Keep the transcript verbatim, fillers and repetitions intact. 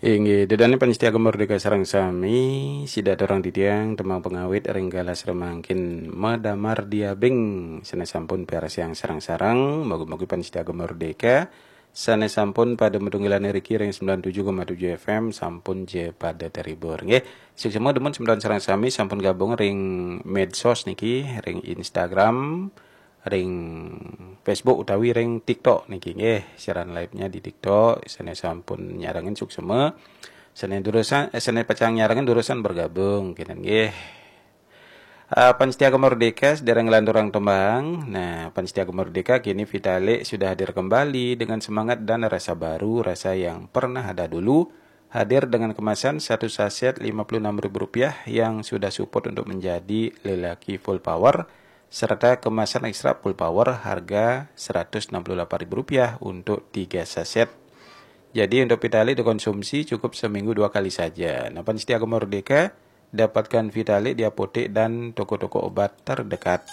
Inggih, ida dané pamiarsa Gema Merdeka sareng sami, sida aturang titiang tembang pangawit ring galah samangkin madamar diabing, sané sampun piarsiang sareng-sareng, mugi-mugi pamiarsa Gema Merdeka sané sampun pada matunggilan riki ring sembilan tujuh koma tujuh F M sampun ja pada terhibur. Nggih, suksma dumun semeton sareng sami sampun gabung ring medsos niki, ring Instagram, ring Facebook utawi ring TikTok niki nggih. Siaran live-nya di TikTok, sané sampun nyarengin suksma. Sané durusang, eh, sané pacang nyarengin durusang bergabung, kénten nggih. Ah, pamiarsa Gema Merdeka, sedereng nglanturang tembang. Nah, pamiarsa Gema Merdeka, kini Vitalik sudah hadir kembali dengan semangat dan rasa baru, rasa yang pernah ada dulu. Hadir dengan kemasan satu saset lima puluh enam ribu rupiah yang sudah support untuk menjadi lelaki full power, serta kemasan ekstra full power harga seratus enam puluh delapan ribu rupiah untuk tiga saset. Jadi untuk Vitalik dikonsumsi cukup seminggu dua kali saja. Nah, pamiarsa Gema Merdeka, dapatkan Vitalik di apotek dan toko-toko obat terdekat.